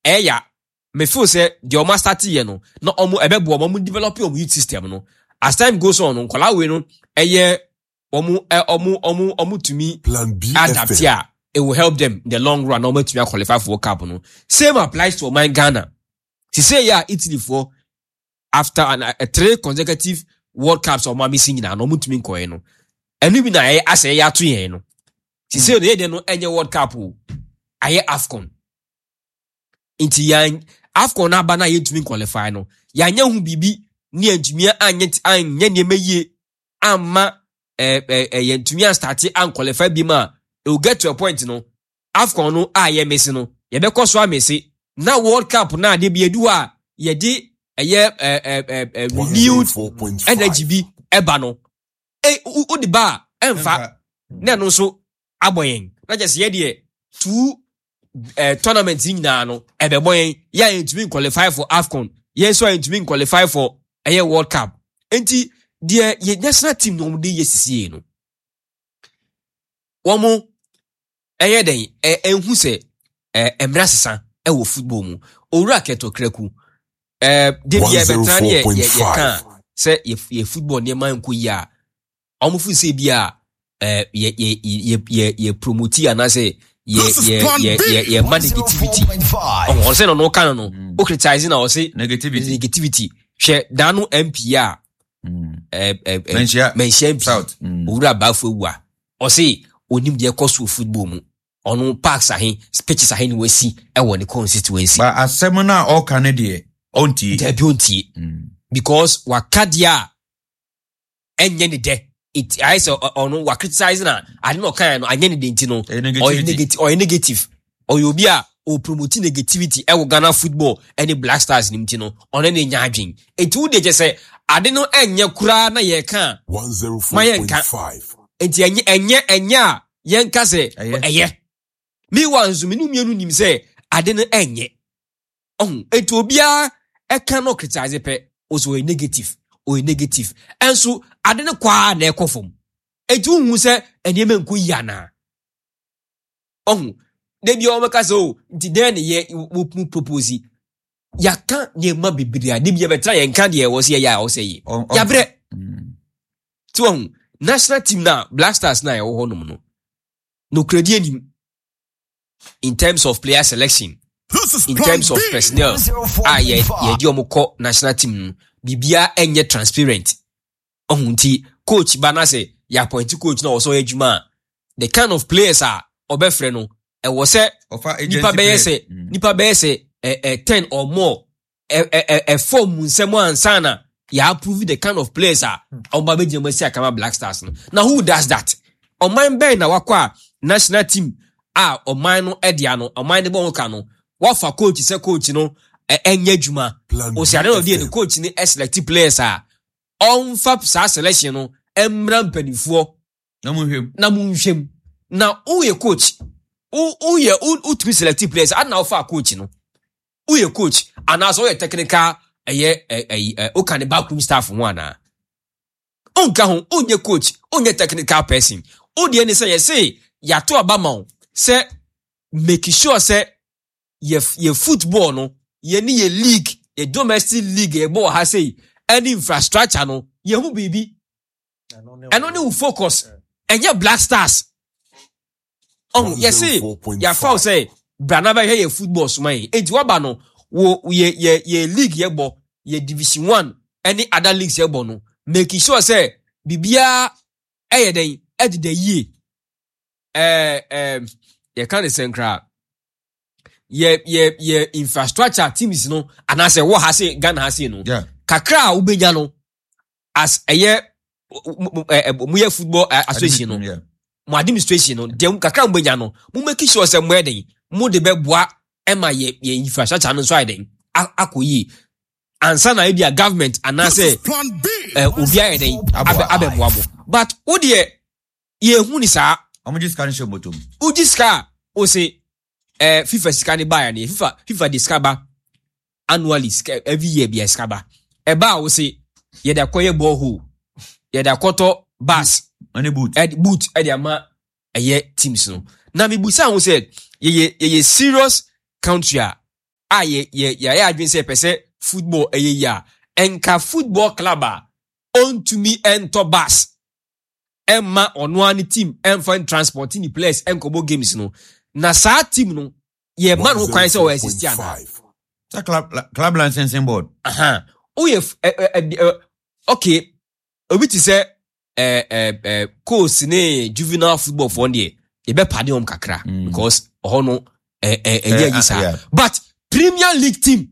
Ɛyɛ me feel sɛ deɛ ɔmo astart yɛ no na ɔmo ɛbɛboa ɔmo, ɔmo develop ɔmo youth system no. As time goes on no, nkɔlaa wei no ɛyɛ ɔmo ɛ ɔmo ɔmo ɔmo tumi Plan B adapt FM. a, it will help them in the long run na ɔmo atumi aqualify for World Cup no. Same applies to ɔman Ghana. Sise yɛ a, Italy foɔ, after a three consecutive World Cups a ɔmo amisi nyinaa no, ɔmo ntumi nkɔɛ no. Ɛno bi na ɛyɛ asɛ ɛyɛ ato yɛn no. Sise no, yɛ deɛ no ɛnyɛ World Cup o, ayɛ AFCON. Nti yɛn AFCON no aba no a yɛntumi qualify no, yɛanyɛ ho biribi ne yɛntumi anyɛ nneɛma yie amma ɛ ɛ ɛ yɛntumi astart anqualify bi mu a, it will get to a point no, AFCON no a yɛmiss no, yɛbɛkɔ so amiss na World Cup no a de bi edu hɔ a yɛde ɛyɛ ɛ ɛ ɛ ɛ renewed 104.5. energy bi ɛba no, ɛ wo de ba a, ɛmfa na ɛno nso abɔ yɛn na kyɛ sɛ yɛdeɛ two tournament yi nyinaa no ɛbɛbɔ yɛn. Yɛ a yɛntumi qualify for AFCON, yɛn nso a yɛntumi qualify for ɛyɛ World Cup. Nti deɛ yɛ national team no wɔn de yɛ sisie no, wɔn ɛyɛ dɛn ɛnhu sɛ mmerɛ sesa ɛwɔ football mu. Owura Kurt Okraku, de bi ɛbɛtena ne yɛ yɛ yɛka sɛ yɛ football nneɛma nkɔ yie a, wɔn fo sɛ bi a yɛ yɛ yɛ yɛ yɛ promote anaasɛ yɛ yɛ yɛ yɛ yɛ ma negativity. Ɔhɔn ɔsɛ na ɔno ka no, o criticize na ɔsɛ negativity. Negativity. Hwɛ, daano MP a ɛ ɛ ɛ Manhyia. Manhyia MP South. Owura Baafo Ewu a ɔse onim deɛ ɛkɔ so wɔ football mu, ɔno parks ahe, pitches ahe ne wasi ɛwɔ ne constituency. Ba asɛm no a ɔka no deɛ, ɔntie. Dabi, ɔntie because waka deɛ a ɛnyɛ ne dɛ. It ayɛ sɛ ɔno wa criticize na ade na ɔkan no anyɛ ne dɛ, nti no ɛyɛ ɔyɛ negativity. Negative, ɔyɛ negative, ɔyɛ obi a ɔpromote negativity ɛwɔ Ghana football ɛne Black Stars nim, ti no ɔno ne nya adwen. Nti wo deɛ kyɛ sɛ ade no ɛnyɛ koraa na yɛka a, ma yɛnka. 104.5. Nti ɛnyɛ a yɛnka sɛ ɛyɛ. Ɛyɛ. Meanwhile nso, mene mmienu nim sɛ ade no ɛnyɛ ɔho. Nti obiara ɛka no criticize pɛ, ɔsɛ ɔyɛ negative, ɔyɛ negative. Ɛnso ade no kɔ a na ɛkɔ fam. Nti wohu sɛ nneɛma nkɔ yie anaa? Ɔho da bi a wɔbɛka sɛ o, nti dɛn ne yɛ wo mu propose? Yɛaka nneɛma bebree a de bi yɛbɛtena yɛnka deɛ ɛwɔ sɛ yɛyɛ a ɛwɔ sɛ yɛ yɛabrɛ. Ti wɔn national team na Black Stars na ɛwɔ hɔnom no, nokorɛdi anim in terms of player selection, in terms of personnel a yɛ yɛde wɔn kɔ national team no, biribiara ɛnyɛ transparent. Ɔho nti coach ba na sɛ yɛ appoint coach na ɔsɔ yɛ adwuma a, the kind of players a ɔbɛfrɛ no, ɛwɔ sɛ ɔfa agency nipa bɛyɛ players. sɛ nipa bɛyɛ sɛ ɛ ɛ 10 or more ɛ ɛ ɛ ɛfɔm mu nsɛm ansa na yɛ approve the kind of players a ɔmo ba bɛgyina mu asi akama Black Stars no. Na who does that? Ɔman bɛn na wakɔ a national team a ɔman no ɛde ano, ɔman no bɔ ho ka no, wafa coach sɛ coach no ɛnyɛ adwuma? Plan Osi ade na ɔde yɛ ne BFM. coach no ɛselect players a, ɔmfa saa selection no mmra mpanimfoɔ na mo hwɛ mu. Na mo nhwɛ mu. Na woyɛ coach, woyɛ wotumi select players ana wofa coach no, woyɛ coach anaasɛ woyɛ technical, ɛyɛ ɛ ɛyi ɛ woka ne backroom staff ho anaa wonka ho? Wonyɛ coach, wonyɛ technical person. Wodeɛ ne sɛ yɛse yɛato aba ma wo sɛ make sure sɛ yɛ football no, yɛ ne yɛ league, yɛ domestic league yɛbɔ wɔ ha sei ɛne infrastructure no, yɛho biribi. Ɛno ne wo focus, ɛnyɛ Black Stars. Ɔho yɛse yɛafa wo sɛ bra na bɛhwɛ yɛ football soma yɛn. Enti waba no, wo yɛ league yɛbɔ, yɛ Division One ɛne other leagues yɛbɔ no, make sure sɛ biribiara ɛyɛ dɛn, ɛdeda yie. ɛɛ ɛɛ yɛka ne sɛn koraa, yɛ infrastructure teams no anaasɛ wɔ ha se Ghana ha se no, kakra a wobɛnya no as ɛyɛ mo yɛ football association no, mo administration no deɛ, kakra a mobɛnya no, mo make sure sɛ mo yɛ den, mo de bɛboa ɛma yɛ infrastructure no nso ayɛ den akɔ yie ansa na ebi a government anaasɛ obi ayɛ den abɛboa mo. But wo deɛ, yɛhu ni saa. Ɔmo gye sika no hyɛ bɔtɔ mu. Wogye sika a, wo se FIFA sika ne baeɛ no, FIFA de sika ba annually, sika every year bia sika ba. Ɛba a, wo se yɛde akɔyɛ borehole, yɛde akɔtɔ bus ɛne boot. Ɛde boot ɛde ama ɛyɛ teams no. Na mebusa ho sɛ yɛyɛ serious country a a yɛ yɛ yɛayɛ adwene sɛ yɛpɛ sɛ football ɛyɛ yi a, ɛnka football club a ɔntumi ɛntɔ bus ɛmma ɔno ara ne team ɛmfa transport ne players ɛnkɔbɔ games no, na saa team no yɛma no ho kwan sɛ ɔyɛ exist anaa? Sɛ club licensing board. Aha. Woyɛ ɛ ɛ okay, obi te sɛ ɛ ɛ ɛ coach ne juvenile football foɔ deɛ, yɛbɛpade wɔn kakra because ɔhɔ no ɛ ɛ ɛnyɛ yi saa. But Premier League team,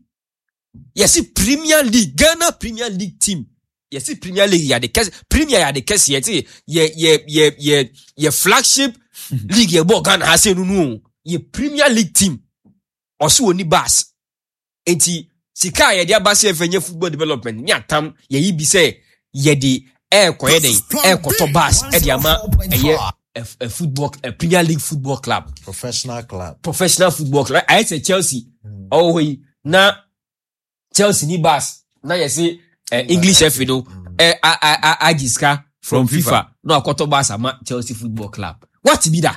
yɛsi Premier League, Ghana Premier League team, yɛsi Premier League yɛ ade kɛse, Premier yɛ ade kɛse, yɛte yɛ flagship league yɛ bɔ Ghana ha sɛ nunu o, yɛ Premier League team ɔso wɔ ni bus. Nti sika a yɛde aba sɛ yɛfɛ nyɛ football development ne atam yɛyi bi sɛ yɛde ɛɛkɔyɛ dɛn, ɛɛkɔtɔ bus ɛde ama ɛyɛ ɛ football ɛ Premier League football club, professional club, professional football club. Ayɛ sɛ Chelsea ɔwɔ hɔ yi na Chelsea ni bus na yɛse ɛ English FA no ɛ a a a agye sika from FIFA na akɔtɔ bus ama Chelsea football club. What bi da?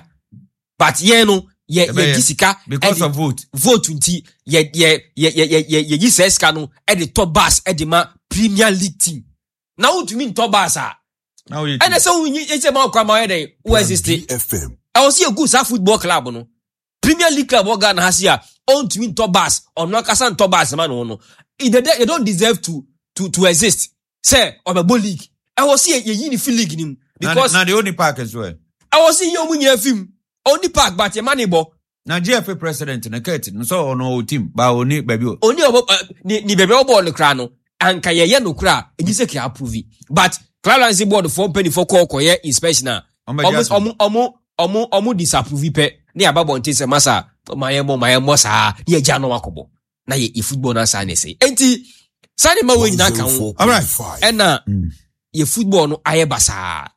But yɛn no yɛ yɛgye sika because of vote. Vote nti yɛ yɛ yɛ yɛ yɛ yɛyi sɛ sika no ɛde tɔ bus ɛde ma Premier League team. Na wontumi ntɔ bus a, ɛnɛ sɛ wonyi ɛsɛ ma ɔkwa ma ɔyɛ dɛn wo exist. Ɛwɔ sɛ yɛgu saa football club no, Premier League club wɔ Ghana ha se a ɔntumi ntɔ bus, ɔno ankasa ntɔ bus ma no no, they don't deserve to exist sɛ ɔbɛbɔ league. Ɛwɔ sɛ yɛyi ne fi league no mu because na deɛ ɔni park nso ɛ. Ɛwɔ sɛ yɛ ɔmo nyinaa fi mu. Ɔni park, but yɛma ne bɔ. Na GFA president no Kurt no sɛ ɔno ɔwɔ team ba ɔni baabi o. Ɔni ɔbɔ ne baabi a ɔbɔɔ no koraa no, anka yɛyɛ no koraa ɛnyi sɛ kɛ approve, but club licensing board foɔ mpanimfoɔ kɔɔ kɔyɛ inspection a, ɔmo disapprove pɛ ne aba bɔnten sɛ masa ma yɛ mɔ ma yɛ mɔ saa ne yɛ gya no akɔbɔ na yɛ football no asaa ne sɛ. Enti saa ne ma wɔ nyinaa ka ho ɛna yɛ football no ayɛ basaa.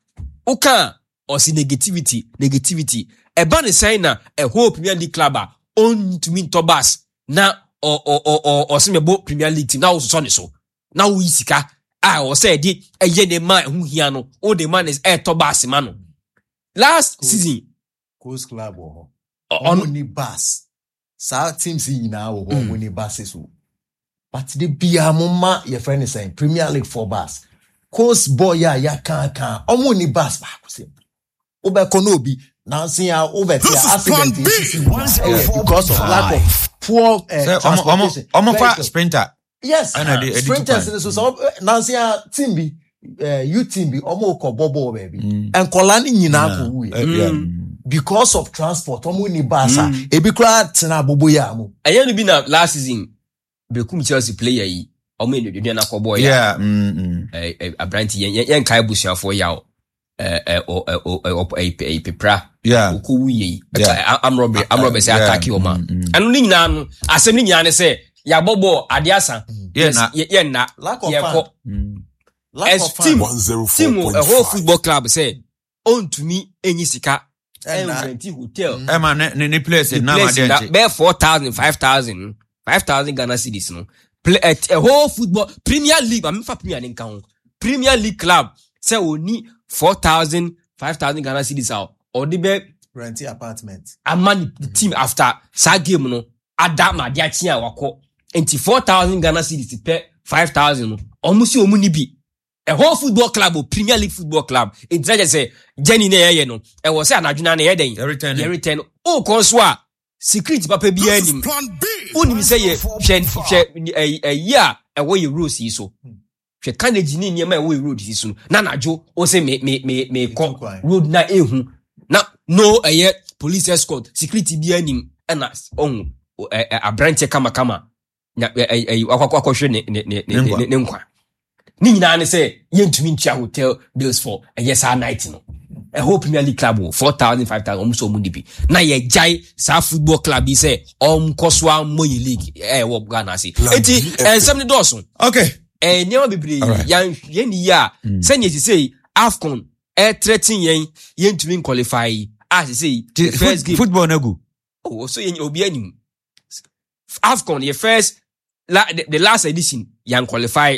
Woka ɔsi negativity, negativity ɛba ne sɛn na ɛwhole Premier League club a ɔntumi ntɔ bus na ɔ ɔ ɔ ɔ ɔsɛ mɛbɔ Premier League team na ɔsosɔ ne so na woyi sika a ɔsɛ ɛde ɛyɛ ne ma ɛho hia no, ɔde ma ne ɛtɔ bus ma no last season. Coast club wɔ hɔ, ɔmo ni bus. Saa teams yi nyinaa wɔ hɔ, ɔmo ni buses o, but de bia mo ma yɛfrɛ ne sɛn, Premier League for bus. Coast boy a yɛakaaka ɔmo ni bus baako sɛ wobɛkɔ na obi nansi a wobɛte a accident esisi ɛyɛ because of lack of poor transportation. Ɔmo fa sprinter. Yes, sprinters ni so sɛ nansi a team bi youth team bi ɔmo kɔ bɔ bɔɔl baabi, nkɔla ni nyinaa kɔ wu yɛ because of transport. Ɔmo ni bus a ebi koraa tena abobo yɛ amu. Ɛyɛ no bi na last season Bekum Chelsea player yi, ɔmo yɛ nnuaduane akɔ bɔɔl yɛ aberante yɛn yɛn nkae abusuafoɔ yaw ɛ ɛ ɔ ɛ ɔ ɛ pepra okɔ wu yɛ yi amrɔbɛ amrɔbɛ sɛ ataki ɔmo a, ɛno ne nyinaa no, asɛm ne nyinaa ne sɛ yɛabɔ bɔɔl adeɛ asa, yɛn nna yɛkɔ team ɛhɔ football club sɛ ɔntumi enyi sika ɛnrɛnti hotel. Ɛma ne players nam adeɛ nkye. Bɛyɛ 4,000, 5,000, 5,000 Ghana cedis no play at a whole football Premier League, maame fa Premier ne nka ho, Premier League club sɛ oni 4,000, 5,000 Ghana cedis a ɔde bɛ rent apartment ama ne team after saa game no ada ma ade akye a wakɔ. Nti 4,000 Ghana cedis pɛ, 5,000 no, ɔmo si ɔmo ni bi. A whole football club o, Premier League football club. Nti na kyerɛ sɛ journey na yɛyɛ no, ɛwɔ sɛ anadwo na yɛ dɛn, yɛretɛn wokɔ nso a security papa biara nim. Wonim sɛ yɛ hwɛ hwɛ ɛyi a ɛwɔ yɛ roads yi so, hwɛ carnage ne nneɛma a ɛwɔ yɛ road yi so na anadwo wo sɛ me me me me kɔ road na ehu na no ɛyɛ police escort, security biara nim, ɛna ɔhu ɛ aberanteɛ kamakama na ɛ ɛ wakɔ akɔhwɛ ne ne ne ne ne nkwa. Ne nyinaa ne sɛ yɛntumi ntua hotel bills for ɛyɛ saa night no. Ɛhɔ Premier League club wɔ 4,000, 5,000, ɔmo sɛ ɔmo ni bi na yɛgyae saa football club yi sɛ ɔnkɔ so ammɔ yɛ league ɛwɔ Ghana ase. Eti ɛnsɛm ne dɔɔso. Okay. Nneɛma bebree yan yɛn ni yie a sɛnea esise AFCON ɛtrɛten yɛn, yɛntumi nqualify yi a sese the first game football na gu. Oh, so yɛn obi anim AFCON yɛ first la, the last edition yan qualify,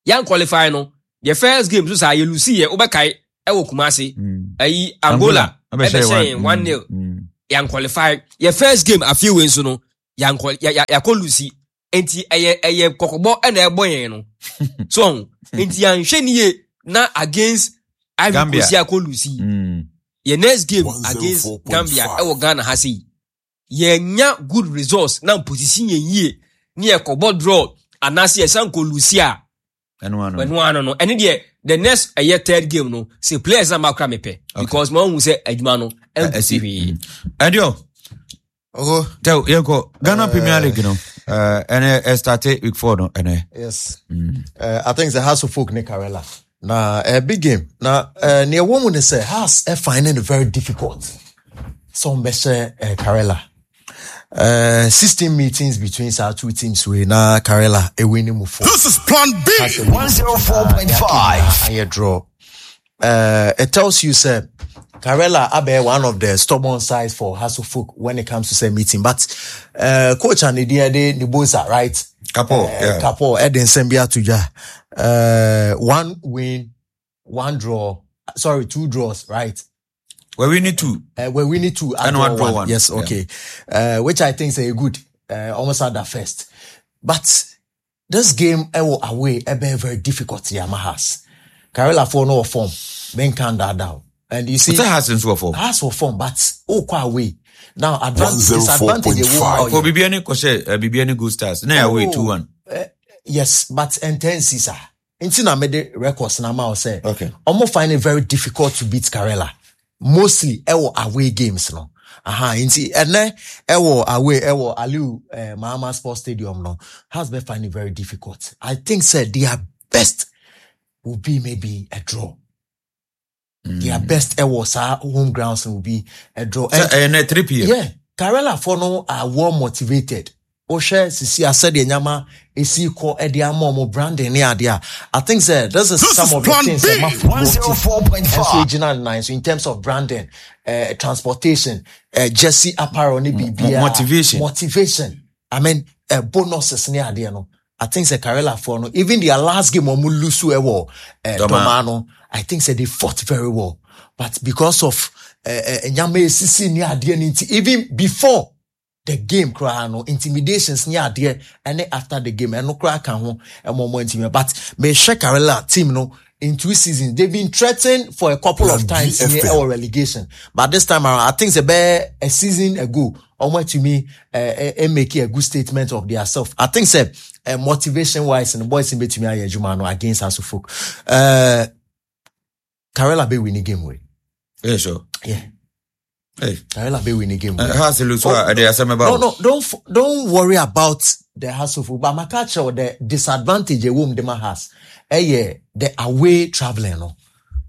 yan qualify no, the first game so saa yɛ lose yɛ, wobɛkae ɛwɔ Kumasi, ɛyi Angola ɛbɛhyɛ yɛn 1-0, yan qualify. Yɛ first game afei wei nso no. Yankɔ ya ya yakɔ lusi. Nti ɛyɛ ɛyɛ kɔkɔbɔ ɛna ɛbɔ yɛn no. So ɔho. Nti yɛanhwɛ ne yie na against Ivory Coast yɛakɔ lusi. Yɛ next game against Gambia ɛwɔ Ghana ha sei. Yɛnya good results na position yɛn yie ne yɛkɔbɔ draw anaasɛ yɛsan kɔ lusi a. Ɛno ano no. Ɛne deɛ the next ɛyɛ third game no sɛ players na makora mepɛ because ma ɔhu sɛ adwuma no ɛnkosi hwee. Ɛdeɛ Oh. Tell yɛnkɔ Ghana Premier League no ɛnɛ ɛstarte week 4 no ɛnɛ. Yes. I think the House of Folk ne Karela. Na a big game. Na nea ɛwɔ mu ne sɛ House finding it very difficult. Sɛ wɔbɛhyɛ Karela. 16 meetings between our two teams we na Karela ewin mu four. This is Plan B. 104.5. Ayɛ draw. It tells you sɛ Karela abɛyɛ one of the stubborn sides for Hasso Folk when it comes to say meeting. But coach and the Nibosa, right? Kapo, yeah. Kapo, ɛde nsɛm bi ato dwa. One win, one draw. Sorry, two draws, right? We're winning two. We're winning two. And one draw one. Yes, okay. Yeah. Which I think is a good. Almost at that first. But this game away very, very difficult. Yamahas. Karela for no form. Ben can that down. And you see, but has in form. Has for form, but oh quite away. Now advantage disadvantage. For Bibiani Koshe, Bibiani Good Stars. Now away 2-1. Yes, but intense sir. Nti na mede records na ma say. Okay. Omo find it very difficult to beat Karela. Mostly ewo away games no. Aha, nti ene ewo away ewo Aliu Mahama Sports Stadium no has been finding it very difficult. I think said their best will be maybe a draw. Their best ewo sa home grounds will be a draw. And 3 p.m. Yeah, Karela for no are well motivated. Oshe sisi asede nyama esi ko ede ama mo branding ne ade a. I think sir this is some of the things that my football 104.5 so in terms of branding, transportation, jersey apparel ne bibia motivation. I mean bonuses ne ade no. I think sir Karela for no even their last game omu lose ewo Domano. I think sir they fought very well. But because of nyama esisi ne ade nti even before the game cry no intimidations near there and after the game and no cry can home and more intimate. But me check Karela team no in 2 seasons they've been threatened for a couple of times near our relegation. But this time around, I think it's a season ago. Almost to me, make a good statement of their self. I think say motivation wise and the boys in between Jumano against Asufuk. Karela be winning game way. Yeah, sure. Yeah. Hey. Karela be winning game. No, don't worry about the hassle. But my catch the disadvantage a woman dem has. Yeah, the away traveling no,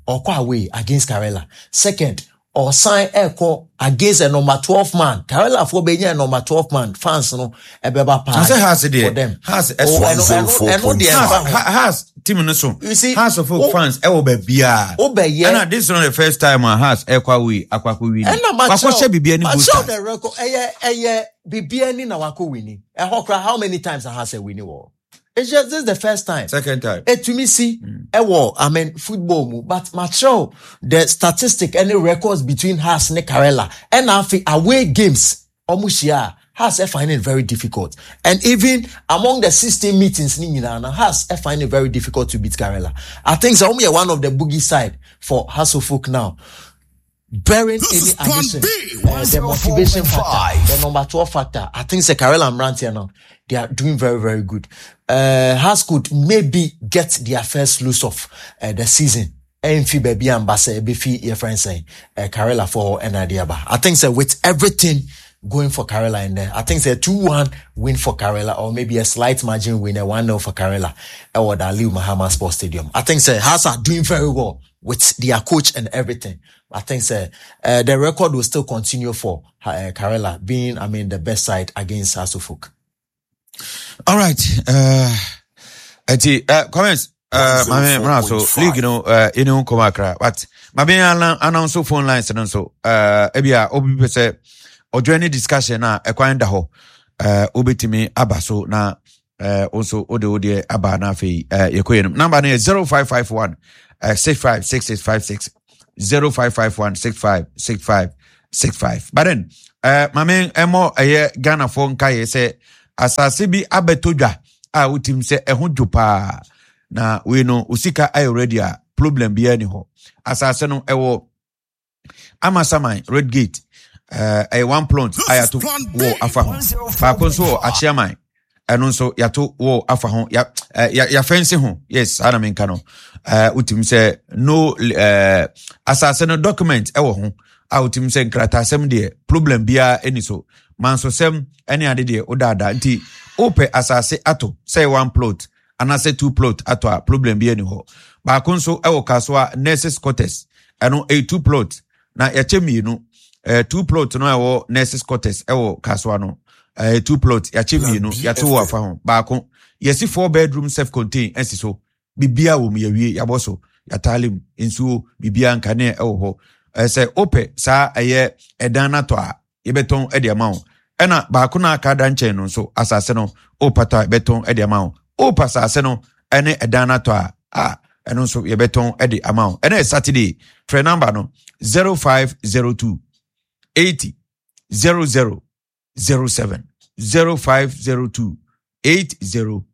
or go away against Karela. Second, or sign echo against a number 12 man. Karela for being a number 12 man fans no ebeba pa. For them. Has has team no so. You see, Has of fans e wo bia. And this is not the first time has ekwa we akwa we. Akwa she bibia ni go. The record eh bibia ni na wako wini. Eh how many times has a winning war? It's just this is the first time. Second time. To me see, I mean football mu, but macho the statistic any records between Hearts and Karela and afi away games omushia Hearts find it very difficult. And even among the 16 meetings ni nyina Hearts find it very difficult to beat Karela. I think so only one of the boogie side for Hasselhoff now. Bearing any addition, the motivation factor, the number 12 factor, I think Karela and Mrantia now, they are doing very, very good. Hearts could maybe get their first lose of the season. Enfi baby and Basse, Bifi, your friend saying, Karela for Enadiaba. I think so with everything going for Karela in there, I think it's a 2-1 win for Karela or maybe a slight margin win, a 1-0 for Karela or the Aliu Mahama Sports Stadium. I think so Hearts are doing very well with their coach and everything. I think so, the record will still continue for Karela being, I mean, the best side against Hasselhoff. All right. Comments. So league, you know, come across. But maybe announce phone lines and so. Ebia obi say or join any discussion na ekwan da ho. Obetimi aba so na also ode aba na fe yekoye. Number is 0551 656656 0551 656565. But then Maame ɛmɔ ɛyɛ Ghanafoɔ nkaeɛ sɛ asase bi abɛtɔ dwa a wotim sɛ ɛho dwo paa na wei no osika ayɛ ready a problem biara ni hɔ. Asase no ɛwɔ Amasaman Red Gate ɛyɛ one plot a yɛato wɔ afa ho. Baako nso wɔ Akyeaman ɛno nso yɛato wɔ afa ho ya yɛafɛnse ho yes saa na menka no wotumi sɛ no asase no document ɛwɔ ho a wotumi sɛ nkrataasɛm deɛ problem biara ɛni so mansosɛm ɛne ade deɛ wodaadaa nti wopɛ asase ato sɛ one plot anaasɛ two plot ato a problem biara ni hɔ baako nso ɛwɔ kasoa nurses quarters ɛno ɛyɛ two plot na yɛakyɛ mmienu two plot no a ɛwɔ nurses quarters ɛwɔ kasoa no two plot yɛakyɛ mmienu yɛate wɔ afa ho baako yɛsi four bedroom self contained ɛsi so biribiara wɔ mu yɛwie yɛabɔ so yɛataale mu nsuo biribiara nkanea ɛwɔ hɔ sɛ wopɛ saa ɛyɛ ɛdan no atɔ a yɛbɛtɔn de ama wo ɛna baako no aka da nkyɛn no nso asase no wopatɔ a yɛbɛtɔn de ama wo wopɛ asase no ɛne ɛdan no atɔ a a ɛno nso yɛbɛtɔn de ama wo ɛna yɛ Saturday frɛ namba no 0502 80 00 07 0502 80 00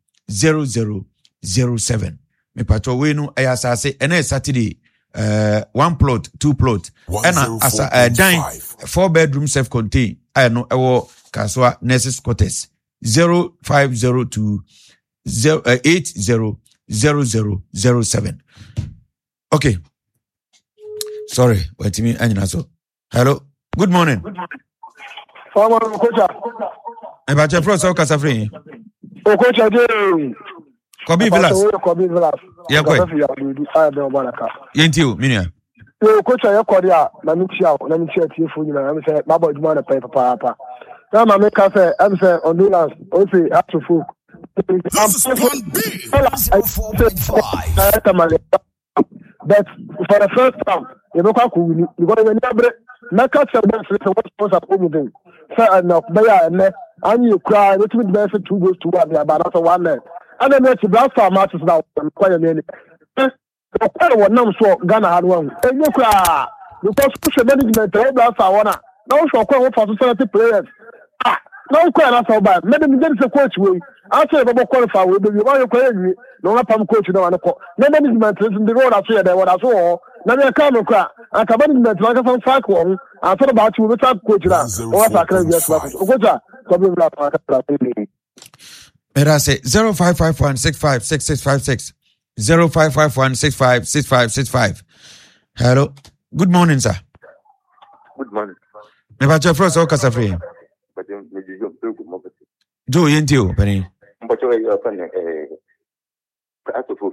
07 mepatɔ wei no ɛyɛ asase ɛna yɛ Saturday one plot two plot ɛna asa dan four bedroom self contained a ɛno ɛwɔ Kasoa nurses quarters 0502 80 00 07 okay sorry watumi anyina so. Hello. Good morning. Farmer Okocha. Ɛbàkyɛ fúlọ̀ sɛ ɔkasa firi yìí. Okocha dé. Kɔbi Villas. Kɔbi Villas. Yɛ kɔ yi. Yɛn ti o, mi nua. Yɛ Okocha yɛ kɔ de a, na mi tia o, na mi tia tie fo nyinaa, ɛmi sɛ mabɔ adwuma na pɛn papaapa. Na maame ka sɛ, ɛmi sɛ ɔnulans, ɔsi ato folk. This is Plan B. 104.5. But for the first time yɛbɛkɔ akɔ wini because yɛn ani abere. Mɛka kyerɛ boys no sɛ wɔn sponsor kɔ mu den sɛ ɛnɛ bɛyɛ a ɛnɛ anyi yɛ koraa yɛbɛtumi de bɛyɛ sɛ two goals to one de aba anaasɛ one nil. Ɛna ɛno akyi Black Star matches na wɔkɔ yɛn ani ɔkɔ yɛ wɔnam so Ghana ha no ahu ɛnyɛ koraa because wohwɛ management ɛwɔ Black Star hɔ no a na wohwɛ ɔkwan a wɔfa so select players a na wokɔ yɛ n'asɛ wobae mɛde megye di sɛ coach wei asɛ yɛbɛbɔ qualify wei bɛwie woayɛ kɔ yɛnwie na wɔapam coach no ma no kɔ na management no nso de wɔda so yɛ dɛ wɔda so wɔ hɔ na deɛ ɛka no kora anka management no ankasa nsaake wɔ ho ansa na baakye wɔbɛsa coach no a wɔasakra bi asoma so coach a kɔbɛ wura pa akasa Meda ase 0551656656 0551656565. Hello. Good morning, sir. Good morning. Mepa kyɛ frɛ sɛ wokasa firi. Joe yɛntie o panin. Mpɔkyɛ ɛyɛ ɔfɛ ne ɛɛ asofo.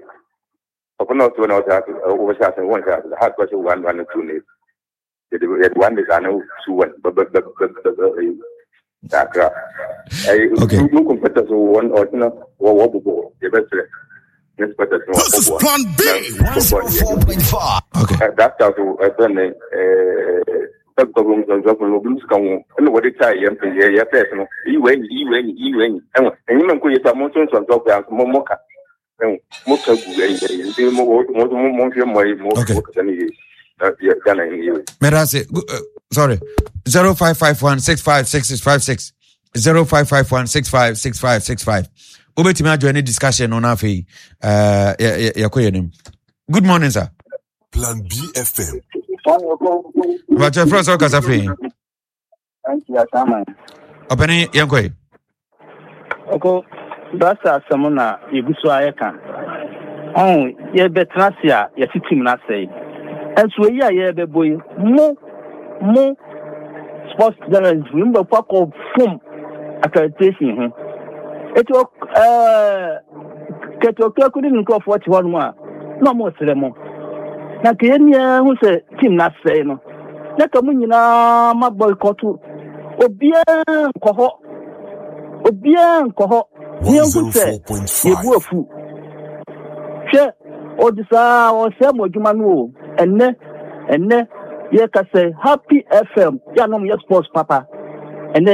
Ɔfɛ na ɔsɛ na ɔsɛ ɔsɛ ase wɔn hyɛ ase ha kɔhyɛ one one two ne yɛde yɛde one ne saa ne two one bɛ bɛ bɛ bɛ bɛ bɛ ɛyi kakra. Ɛyi Okay. No competitors wɔ ɔkyena wɔ wɔ bobɔ yɛbɛsrɛ ne supporters no This is wɔbɔboa. Plan B. 104.5. Okay. That stuff ɛfɛ ne ɛɛ ɛna wɔde taa yɛ mpɛ yɛ yɛ pɛs no iyi wɔ enyi iyi wɔ enyi iyi wɔ enyi ɛwɔ enyim nko yɛ sɛ mo nso nsɔnsɔn kɔ yanso mo mo ka ɛwɔ mo ka gu ɛyi ɛyi nti mo mo mo mo mo nhwɛ mo ayi mo mo kasa ne yie na yɛ Ghana yi yie. Mɛda ase sorry 0551656656 0551656565 wobɛtumi adjoin ne discussion no na afei yɛkɔ yɛ anim. Good morning sir. Plan BFM. Mpakyɛ frɛ sɛ wokasa firi ɔpɛne yɛnkɔe. Ɔkɔ brasa asɛm na yɛgu so a yɛka. Ɔn yɛbɛtena ase a yɛte tim no asɛe. Ɛnso eyi a yɛbɛbɔ yi mo mo sports journalist yi mo bɛkɔ akɔ fom accreditation ho. Eti ɛɛ Kɛtɛ Ɔkraku ne ne nkurɔfoɔ te hɔnom a, na wɔresrɛ mo. Na nka yɛn nyinaa hu sɛ team no asɛe no, na ka mo nyinaa ma boycott. Obiara nkɔ hɔ. Obiara nkɔ hɔ. Na yɛnhu sɛ yɛbu afu. Hwɛ, ɔde saa ɔsɛe mo adwuma no o. Ɛnnɛ, ɛnnɛ, yɛka sɛ Happy FM, yɛ a na wɔyɛ sports papa. Ɛnnɛ,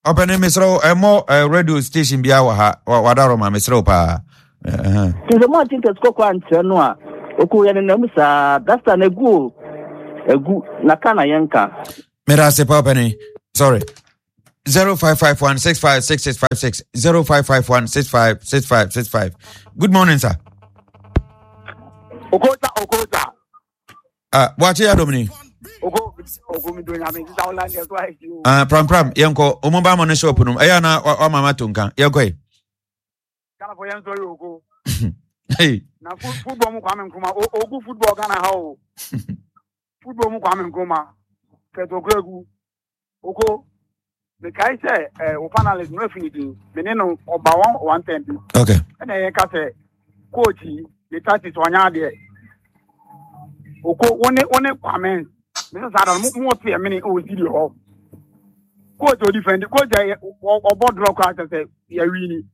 Ɔpɛni mesrɛ wo ɛmɔ radio station biara wɔ ha wadaroma mesrɛ wo paa. Nti sɛ moante ntɛsi kɔkɔɔ ankyerɛ no a, ɔkuu yɛn nenam saa. Dasta no agu o, agu, na ka na yɛnka. Meda ase pa ɔpɛni. Sorry. 0551656656 0551656565. Good morning, sir. Okota, Okota. Ah, boakye yɛ adom ni. Oko, oko mi do nyame sisa wala nge so ai o. Ah, pram pram, yɛnkɔ. Ɔmo ba mo ne shop no. Ɛyɛ na wama ma to nka. Yɛnkɔ yi. Ghana fo yɛn sɔre oko. Hey. Na football mu Kwame Nkrumah, ogu football Ghana ha o. Football mu Kwame Nkrumah. Kɛtɔkura Oko, mekae sɛ eh, wo panelist no afi ne din, me ne no ɔba wɔn one time bi. Okay. Ɛna yɛka sɛ coach yi ne tactics ɔnyɛ adeɛ. Oko, wo ne wo ne Kwame, me sɛ saa da no mo mo te ɛmene wɔ studio hɔ. Coach odi fɛndi, coach yɛ ɔbɔ drɔ koraa kyɛ sɛ yɛwi ni.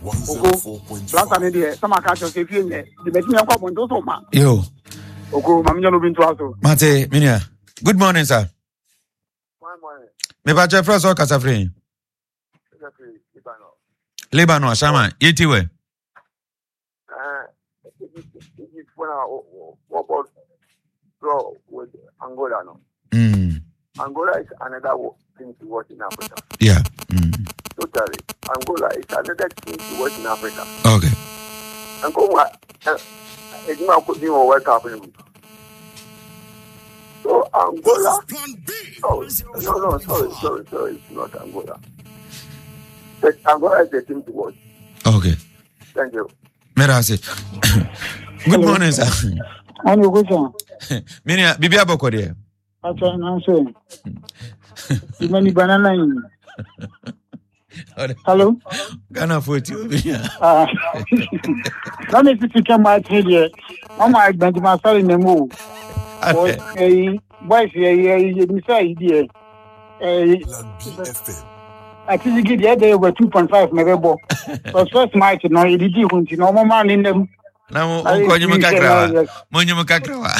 Oko, plasta ne deɛ sɛ maka kyerɛ sɛ efie nyɛ de bɛtumi akɔ abɔnten so ma. Yo. Oko, ma menyɛ no obi ntoa so. Mate, menua. Good morning, sir. Mepa kyɛ frɛ sɛ ɔkasa firi. Lebanon, Ashama, yɛti wɛ. Angola, no. Angola is another team to watch in Africa. Yeah. Totally. Angola is another team to watch in Africa. Okay. Angola, edwuma kò dín wọ World Cup ni mu. So Angola, oh, no, no, sorry, sorry, sorry, it's not Angola. But Angola is the team to watch. Okay. Thank you. Mera ase. Good morning, sir. Ani okocha. Mini bibi abɔkɔ deɛ. Acha na so. Imani banana yi. Hello. Ghana fo ti obi ya. Ah. Na me sisi kɛ ma ti deɛ. Mama Benjamin Asare na mu o. Ɛyi boys yɛ yɛ yɛ misa yi deɛ. Ɛyi. Atizigi deɛ ɛdɛ yɛ 2.5 na ɛbɛbɔ. But first match no yɛdidi ho nti na ɔmo maa ne nam. Na mo nkɔ nyim kakra wa. Mo nyim kakra wa.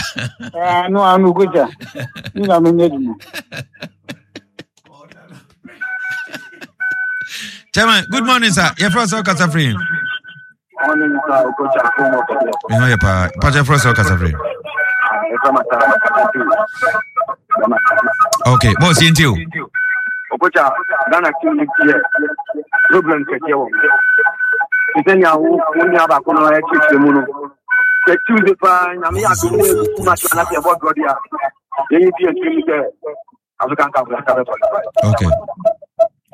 Ano ano goja. Ni na me nyɛ dwuma. Chairman, good morning, sir. Your first kasa free. Morning, sir. Okocha, Me ho yɛ paa. Pakyɛ frɛ sɛ ɔkasa free. Okay, boss, yɛnti o. Okocha, Ghana team ni tiɛ problem kɛseɛ wɔ te sɛ nea wo wo nua baako no ɛkyerɛkyerɛ mu no sɛ Tuesday paa nyame yɛ adom ne match anasɛ ɛbɔ drɔ deɛ a yɛyɛ bi akyerɛ mu sɛ African Cup na bɛ qualify. Okay.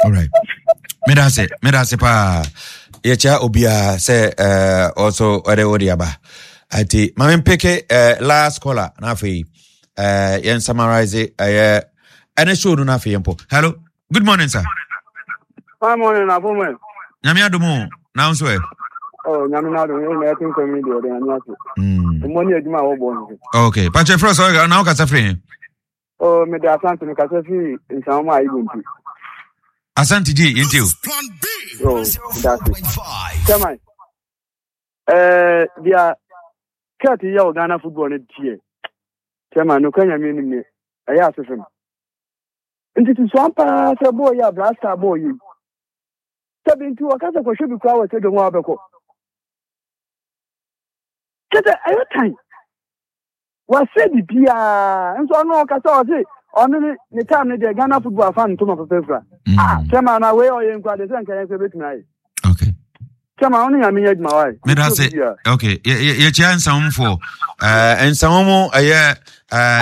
All right. Meda ase, meda ase paa. Yɛkyia obiara sɛ ɔso ɔde wode aba. Ati ma mempeke last caller na afei yɛn summarize ɛyɛ ɛne show no na afei yɛn po. Hello. Good morning sir. Good morning, Afome. Nyame adom o. Na nso ɛ. Oh, nyame na adom, na ɛte nsɛm yi deɛ ɔde nyame ase. Mmɔ ne adwuma a wɔbɔ no. Okay. Pakyɛ frɛ sɛ na wokasa firi he? Oh, mede Asante mekasa firi Nsawam a Igbo nti. Asante gye yɛnti o. Oh, meda ase. Chairman, eh, deɛ Kurt yɛ wɔ Ghana football no teɛ. Chairman, nokora nyame anim ne ɛyɛ ase fam. Nti susuan paa sɛ bɔɔl yi a Black Star bɔɔl yi. Sɛbi nti wɔka sɛ kɔhwɛ bi koraa wɔ stadium a wobɛkɔ. Kyɛ sɛ ɛyɛ tan. Wasɛ biribiara nso ɔno ɔkasa ɔse ɔno ne ne time no deɛ Ghana football afa ntoma papa fira. Ah kyɛma na wei ɔyɛ nkura deɛ sɛ nka yɛn nso ebetumi ayɛ. Okay. Kyɛma ɔno nyame nyɛ adwuma wae. Meda ase. Okay. Yɛkyia nsawomfoɔ. Eh, nsawom ɛyɛ eh,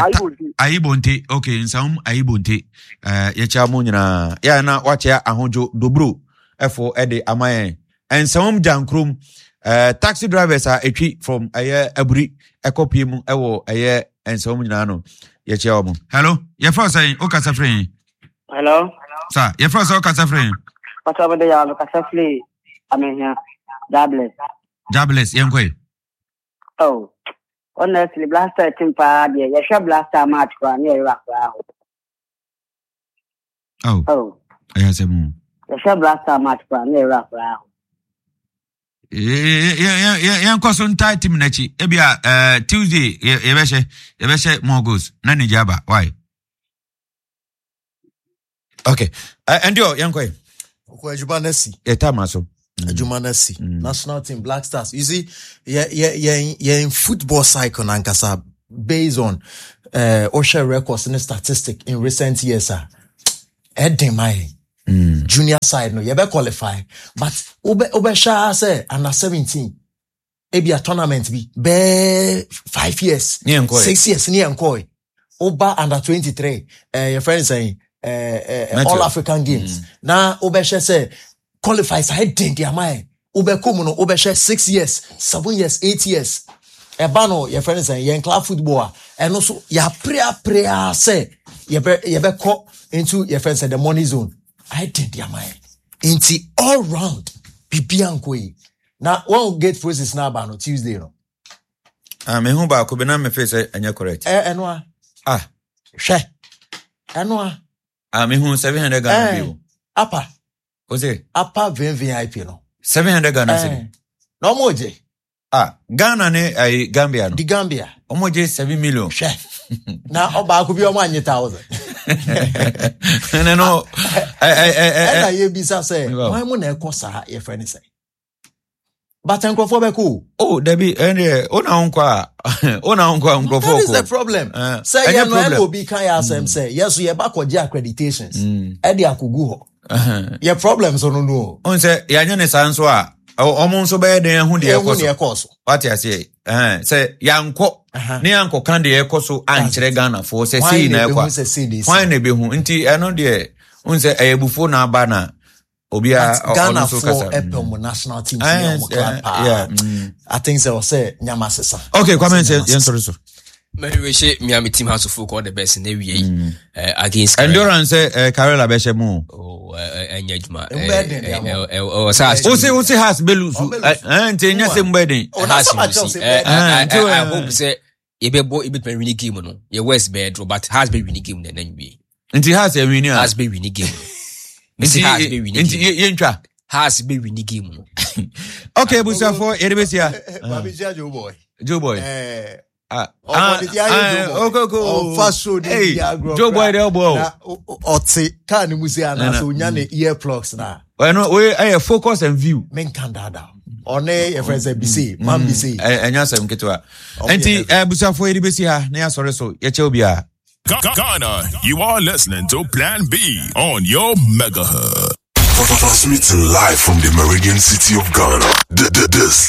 Ayibonte. Okay, nsawom Ayibonte. Eh, yɛkyia mo nyinaa. Yɛ na wakyia ahodwo dobro ɛfo ɛde ama yɛn. Nsawam Gyankrom eh, taxi drivers a ɛtwi from ɛyɛ aburi ɛkɔ pie mu ɛwɔ ɛyɛ Nsawam nyinaa no yɛkyia wɔn. Hello, yɛfrɛ sɛn wokasa firi he? Hello. Sa, yɛfrɛ sɛ wokasa firi he? Pata bɛde yɛ mekasa firi Amehia, Jabless. Jabless, yɛnkɔ yi. Oh, honestly, Blaster team paa deɛ, yɛhwɛ Blaster match koraa ne yɛwerɛ koraa ho. Oh. Oh. Ɛyɛ asɛm o. Yɛhwɛ Black Star match koraa na ɛwura koraa ho. Yɛnkɔ so ntaa team n'akyi. Ebi a eh, Tuesday yɛbɛhyɛ yɛbɛhyɛ more goals na ne gya aba. Why? Okay. Ɛnde ɔ yɛnkɔ yi. Ɔkɔ adwuma no asi. Yɛta ma so. Adwuma no asi. National team Black Stars. You see, yɛn yɛn football cycle nankasa. based on wohwɛ records ne statistic in recent years a ɛden ma yɛn. Junior side no yɛbɛ qualify but wobɛhwɛ ara sɛ under 17 ebia tournament bi bɛɛ 5 years 6 years ne yɛnkɔe. Woba under 23 yɛfrɛ no sɛn All African Games na wobɛhwɛ sɛ qualify saa den de ama yɛn. Wobɛkɔ mu no wobɛhwɛ 6 years, 7 years, 8 years. Ɛba no yɛfrɛ no sɛn yɛn club football a ɛno so yɛapreaprea sɛ yɛbɛkɔ into yɛfrɛ no sɛ the money zone ayɛ den de ama yɛn. Nti all round biribiara nkɔ yi na wɔn gate process na aba no Tuesday no. Ah, mehu baako bi na mefe sɛ ɛnyɛ correct. Ɛno a. Ah. Hwɛ. Ɛno a. Ah, mehu 700 Ghana bi o. Apa. O se? Apa VVIP no. 700 Ghana cedi. Na ɔmo gye. Ah, Ghana ne ayi Gambia no. Di Gambia. Ɔmo gye 7 million. Hwɛ. Na ɔbaako bi ɔmo anye 1,000. Ɛnɛ no. Ɛna yɛ bisa sɛ, wɔn mu na ɛkɔ saa yɛfrɛ ne sɛ. But nkurɔfoɔ bɛkɔ o. Oh, dabi, ɛndeɛ, o na nkɔ a, o na nkɔ a nkurɔfoɔ kɔ. That is the problem. Sɛ yɛ no ɛna obi ka yɛ asɛm sɛ, yɛ so yɛ ba kɔgye accreditations, ɛde akɔgu hɔ. Yɛ problem so no no o. Ɔn sɛ, yɛanyɛ ne saa nso a, ɔmo nso bɛyɛ den ahu deɛ ɛkɔ so. Wate aseɛ, sɛ yɛankɔ, ne yɛankɔka deɛ ɛkɔ so ankyerɛ Ghanafoɔ sɛ sei na ɛkɔ a, hwan na ɛbɛhu? Nti ɛno deɛ, ɔn sɛ ɛyɛ abufuo na aba na obiara ɔno nso kasa. Ghanafoɔ ɛpɛ ɔmo national team ne ɔmo club paa. I think sɛ ɔsɛ nyama sesa. Okay, Kwame nsɛ yɛn sɔrɔ so. Mɛri wei hyɛ Miami team house of folk all the best na ewie yi against Karela. Endurance sɛ Karela bɛhyɛ mu. Oh, ɛnyɛ adwuma. Ɔsɛ ose house bɛ lusu. Nti ɛnyɛ sɛ mu bɛ den. House lusu. I hope sɛ yɛbɛbɔ yɛbɛtumi wini game no yɛ west bɛyɛ draw but Hearts bɛ wini game no ɛna nwie. Nti Hearts yɛ wini a. Hearts bɛ wini game no. Nti Hearts bɛ wini game. Nti yɛntwa. Hearts bɛ wini game no. Okay, busuafo yɛde bɛ sia. Maame sia Joe boy. Joe boy. Ah, ah, okay, okay. Ɔfa so de di agorɔ. Joe boy de ɔbɔ o. Ɔte kaa ne mu se anaasɛ onya ne ear plugs na. Ɛno oye ɛyɛ focus and view. Menka daadaa. Ɔne yɛfrɛ sɛ bise man bise. Ɛnyɛ asɛm ketewa. Nti abusuafoɔ yɛde bɛsi ha na yɛasɔre so yɛkyɛ obiara. Ghana, you are listening to Plan B on your Mega Hub. Transmitting live from the Meridian City of Ghana. This